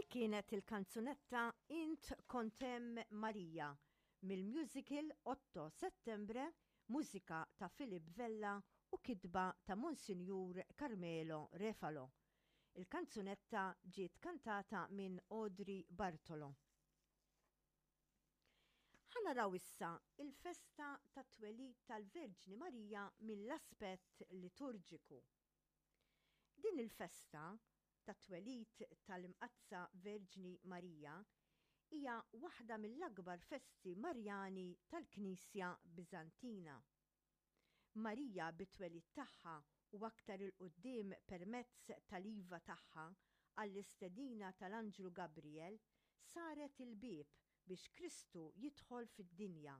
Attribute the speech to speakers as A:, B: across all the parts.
A: Dik kienet il-kanzunetta Int Kont Hemm Marija mill-musical Otto Settembre, mużika ta' Philip Vella u kitba ta' Monsinjur Carmelo Refalo. Il-kanzunetta ġiet kantata minn Audrey Bartolo. Ħa naraw issa il-festa tat-twelid tal-Verġni Marija mill-aspett liturġiku. Din il-festa tat-twelid tal-Imqaddsa Verġni Marija hija waħda mill-akbar festi Marjani tal-Knisja Biżantina. Marija bit-twelid tagħha u aktar 'il quddiem permezz tal-iva tagħha għall-istedina tal-anġlu Gabriel saret il-bieb biex Kristu jidħol fid-dinja.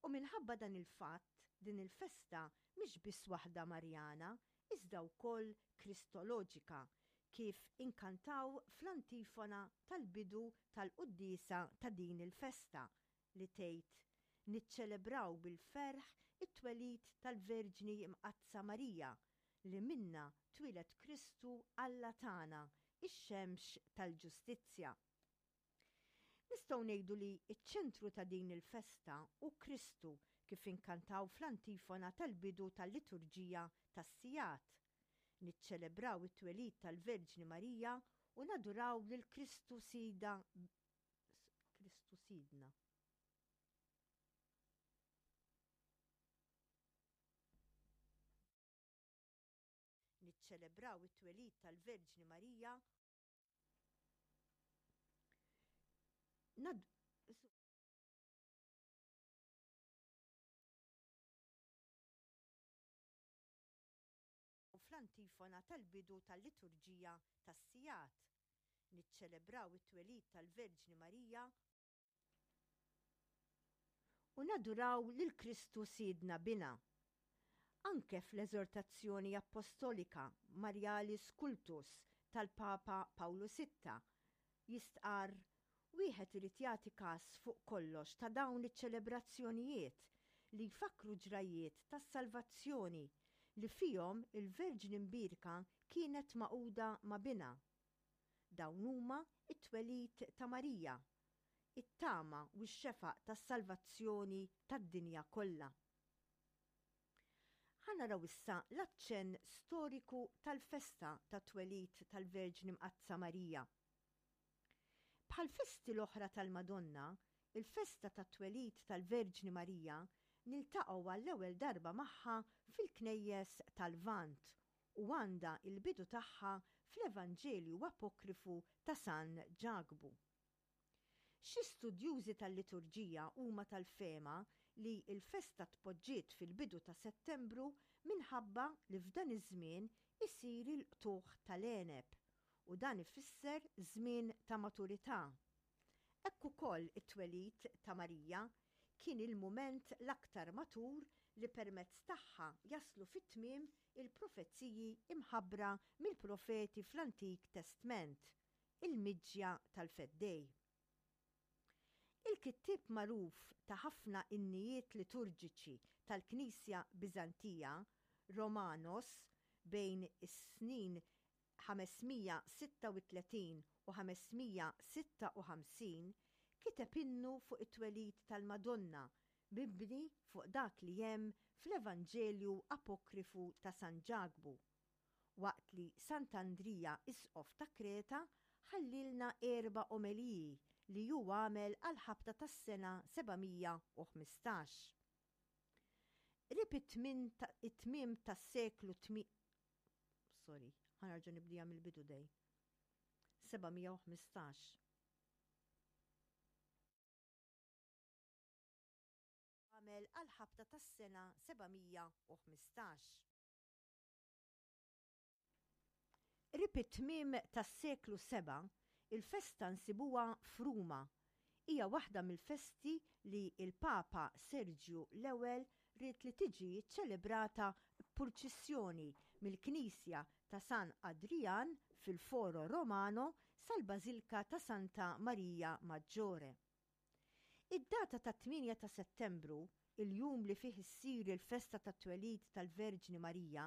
A: U minħabba dan il-fatt din il-festa mhix biss waħda Marjana iżda wkoll Kristoloġika kif inkantaw fl-antifona tal-bidu tal-quddiesa ta' din il-festa li tgħid, Niċċelebraw bil-ferħ it-twelid tal-Verġni Mqaddsa Marija, li minnha twieled Kristu Alla tagħna, ix-xemx tal-ġustizzja. Nistgħu ngħidu li ċ-ċentru ta' din il-festa hu Kristu kif inkantaw fl-antifona tal-bidu tal-liturġija tas-sigħat. Niċċelebraw it-twelid tal-Verġni Marija u naduraw lil Kristu Sidha Kristu Sidna. Niċċelebraw it-twelid tal-Verġni Marija Nad fl-antifona tal-bidu tal-liturġija tas-sigħat. Niċċelebraw it-twelid tal-Verġni Marija u naduraw lil Kristu Sidna Binha. Anke fl-eżortazzjoni appostolika Marialis Cultus tal-Papa Pawlu Sitta jistqarr Wieħed irid jagħti kas fuq kollox ta' dawn iċ-ċelebrazzjonijiet li jfakkru ġrajjiet tas-salvazzjoni li fihom il-Verġni Mbierka kienet magħquda ma' Binha. Dawn huma t-twelid ta' Marija, it-tama u x-xefaq tas-salvazzjoni tad-dinja kollha. Ħa naraw issa l-aċċenn storiku tal-festa tat-twelid tal-Verġni Mqaddsa Marija. Bħall-festi l-oħra tal-Madonna, il-festa tat-twelid tal-Verġni Marija niltaqgħu għall-ewwel darba magħha fil-knejjes tal-Lvant u għandha l-bidu tagħha fl-Evanġelju apokrifu ta' San Ġakbu. Xi studjużi tal-liturġija huma tal-fehma li l-festa tpoġġiet fil-bidu ta' Settembru minħabba li f'dan iż-żmien isir il-qtugħ tal-għeneb u dan ifisser żmien ta' maturità. Hekk ukoll it-twelid ta' Marija kien il-mument l-aktar matur li permezz tagħha jaslu fit-tmiem il-profeziji mħabbra mill-profeti fl-Antik Testment, il-miġja tal-Feddej. Il-kittieb magħruf ta' ħafna innijiet liturġiċi tal-Knisja Biżantija, Romanos, bejn is-snin 536 u 556, kiteb innu fuq it-twelid tal-Madonna mibni fuq dak li hemm fl-Evanġelju apokrifu ta' San Ġakbu, waqt li Sant'Andrija Isqof ta' Kreta ħallielna erba' omeliji li hu għamel għall-ħabta tas-sena 715. Qrib it-tmiem tas-seklu Sorry, ħa nerġa' nibdieha mill-bidu dej. 715. Għamel għall-ħabta tas-sena 715. Qrib it-tmiem tas-seklu sebgħa, il-festa nsibuha f'Ruma. Hija waħda mill-festi li l-Papa Serġju l-Ewwel ried li tiġi ċċelebrata b'purċissjoni mill-knisja ta' San Adrian fil-Foro Romano sal-Bażilka ta' Santa Marija Maggiore. Id-data tat-tmienja ta' Settembru, il-jum li fih issir il-festa tat-twelid tal-Verġni Marija,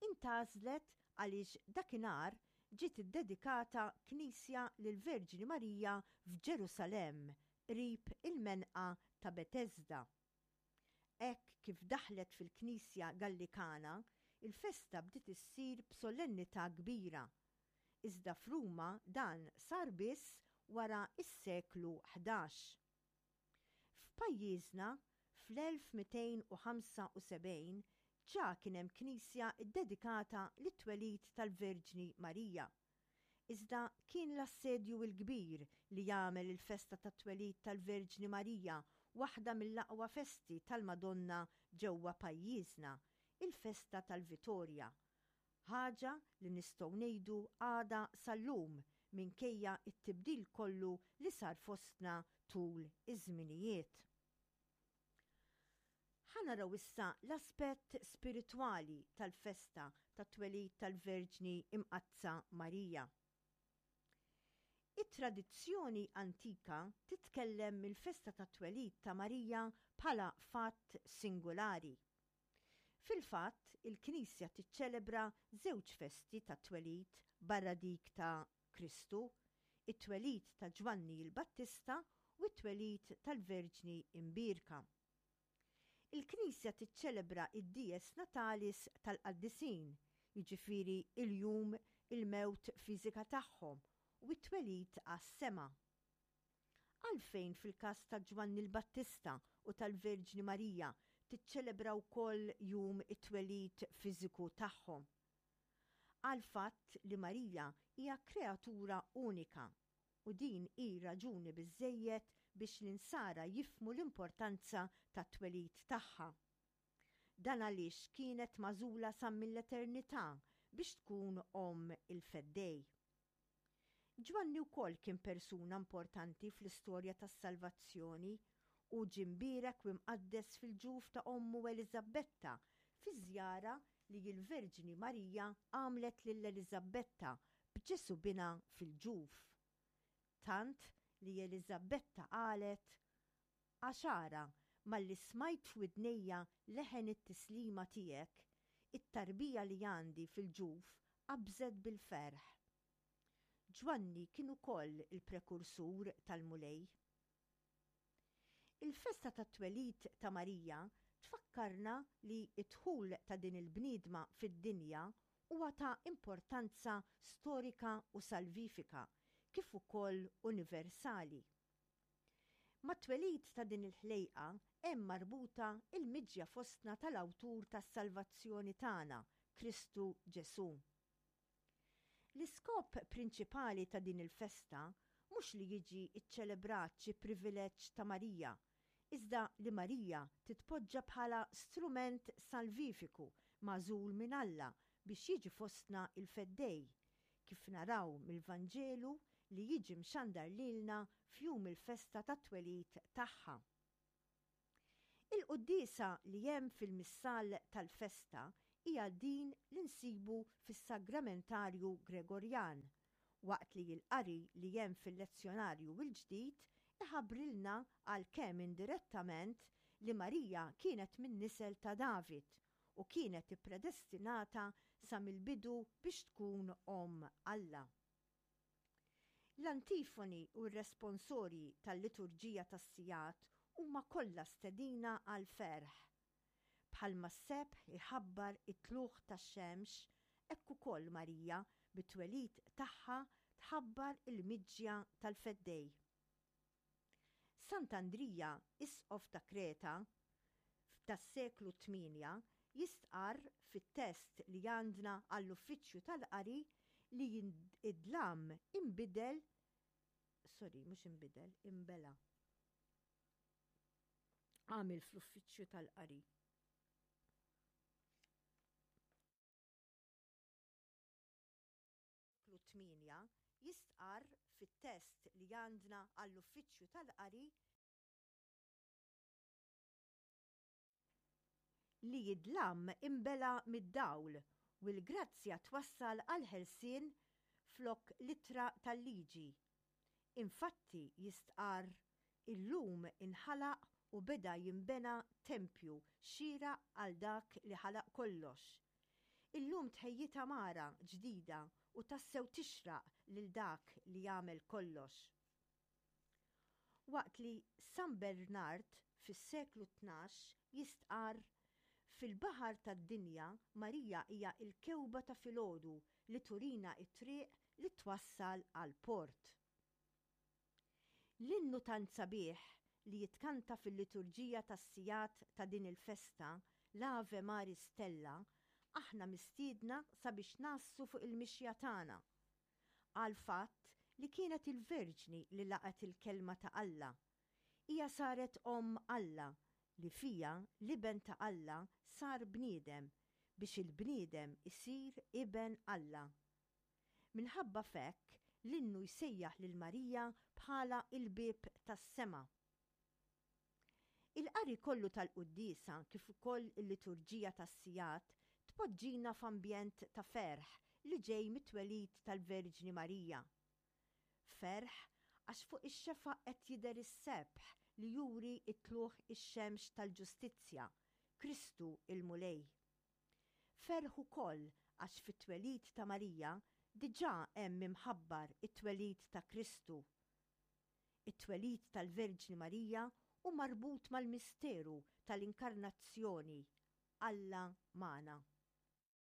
A: intgħażlet għaliex dakinhar ġiet iddedikata knisja lill-Verġni Marija f'Ġerusalemm qrib il-menqa ta' Betesda. Hekk kif daħlet fil-Knisja Gallikana, il-festa bdiet issir b'solennità kbira. Iżda f'Ruma dan sar biss wara s-seklu 11. F'pajjiżna, fl-1275 ġa kien hemm knisja ddedikata lit-twelid tal-Verġni Marija. Iżda kien l-Assedju l-Kbir li għamel il-festa tat-twelid tal-Verġni Marija waħda mill-aqwa festi tal-Madonna ġewwa pajjiżna, il-festa tal-Vitorja. Ħaġa li nistgħu ngħidu għadha sal-lum minkejja t-tibdil kollu li sar fostna tul iż-żminijiet. Ħa naraw issa l-aspett spiritwali tal-festa tat-twelid tal-Verġni Imqaddsa Marija. It-tradizzjoni antika titkellem mill-festa tat-twelid ta' Marija bħala fatt singulari. Fil-fatt, il-Knisja tiċċelebra żewġ festi tat-twelid barra dik ta' Kristu, it-twelid ta' Ġwanni l-Battista u t-twelid tal-Verġni Imbierka. Il-Knisja tiċċelebra d-dies natalis tal-qaddisin, jiġifieri l-jum il-mewt fiżika tagħhom u t-twelid għas-sema. Għalfejn fil-każ ta' Ġwanni l-Battista u tal-Verġni Marija tiċċelebra wkoll jum it-twelid fiżiku tagħhom? Għall-fatt li Marija hija kreatura unika u din hi raġuni biżżejjed biex l-Insara jifhmu l-importanza tat-twelid tagħha. Dan għaliex kienet magħżula sa mill-eternità biex tkun omm il-Feddej. Ġwanni wkoll kien persuna importanti fl-istorja tas-salvazzjoni. Hu ġie mbierek u imqaddes fil-ġuf ta' ommu Eliżabbetta fi żjara li l-Verġni Marija għamlet lil Eliżabbetta b'Ġesù binha fil-ġuf. Tant li Eliżabbetta qalet, Għax ara, malli smajt f'widnejja leħen it-tislima tiegħek, it-tarbija li għandi fil-ġuf qabżet bil-ferħ. Ġwanni kien ukoll il-prekursur tal-Mulej. Il-festa tat-twelid ta' Marija tfakkarna li d-dħul ta' din il-bniedma fid-dinja huwa ta' importanza storika u salvifika, kif ukoll universali. Mat-twelid ta' din il-ħlejqa hemm marbuta l-miġja fostna tal-Awtur tas-salvazzjoni tagħna, Kristu Ġesù. L-iskop prinċipali ta' din il-festa mhux li jiġi ċċelebrat xi privileġġ ta' Marija, iżda li Marija titpoġġa bħala strument salvifiku magħżul minn Alla biex jiġi fostna l-Feddej, kif naraw mill-Vanġelu li jiġi mxandar lilna f'jum il-festa tat-twelid tagħha. Il-quddiesa li hemm fil-Missal tal-festa hija din li nsibu fis-Sagramentarju Gregorjan, waqt li l-qari li hemm fil-Lezzjonarju l-Ġdid iħabbrilna għalkemm indirettament li Marija kienet min-nisel ta' David u kienet ippredestinata sa mill-bidu biex tkun Omm Alla. L-antifoni u r-responsorji tal-liturġija tas-sigħat huma kollha stedina għall-ferħ. Bħalma s-sebħ iħabbar it-tlugħ tax-xemx, hekk ukoll Marija bit-twelid tagħha tħabbar il-miġja tal-Feddej. Sant'Andrija, isqof ta' Kreta tas-seklu tmienja, jistqarr fit-test li għandna għall-uffiċċju tal-qari li id-dlam inbidel, sorry, mhux inbidel, inbela'. Għamil fl-uffiċċju tal-qari. Artiklu 8, jistqarr fit-test li għandna għall-Uffiċċju tal-Qari, li d-dlam inbela' mid-dawl u l-grazzja twassal għall-ħelsien flok l-ittra tal-liġi. Infatti, jistqarr, illum inħalaq u beda jinbena tempju xieraq għal dak li ħalaq kollox. Illum tħejjiet għamara ġdida. u tassew tixraq lil dak li għamel kollox. Waqt li San Bernard fis-seklu 12 jistqarr, Fil-baħar tad-dinja Marija hija l-kewba ta' filgħodu li turina t-triq li twassal għall-port. L-innu tant sabiħ li jitkanta fil-liturġija tas-sigħat ta' din il-festa, l-Ave Maris Stella, aħna mistiedna sabiex ngħassu fuq il-mixja tagħna. Għall-fatt li kienet il-Verġni li laqgħet il-Kelma ta' Alla. Hija saret Omm Alla li fiha l-Iben ta' Alla sar bniedem biex il-bniedem isir iben Alla. Minħabba f'hekk, l-innu jsejjaħ lil Marija bħala l-bieb tas-sema. Il-qari kollu tal-quddiesa kif ukoll il-liturġija tas-sigħat tpoġġina f'ambjent ta' ferħ li ġej mit-twelid tal-Verġni Marija. Ferħ għax fuq ix-xefaq qed jidher is-sebħ li juri t-tlugħ ix-xemx tal-ġustizzja, Kristu l-Mulej. Ferħ ukoll għax fit-twelid ta' Marija diġà hemm imħabbar it-twelid ta' Kristu. It-twelid tal-Verġni Marija hu marbut mal-misteru tal-Inkarnazzjoni, Alla magħna.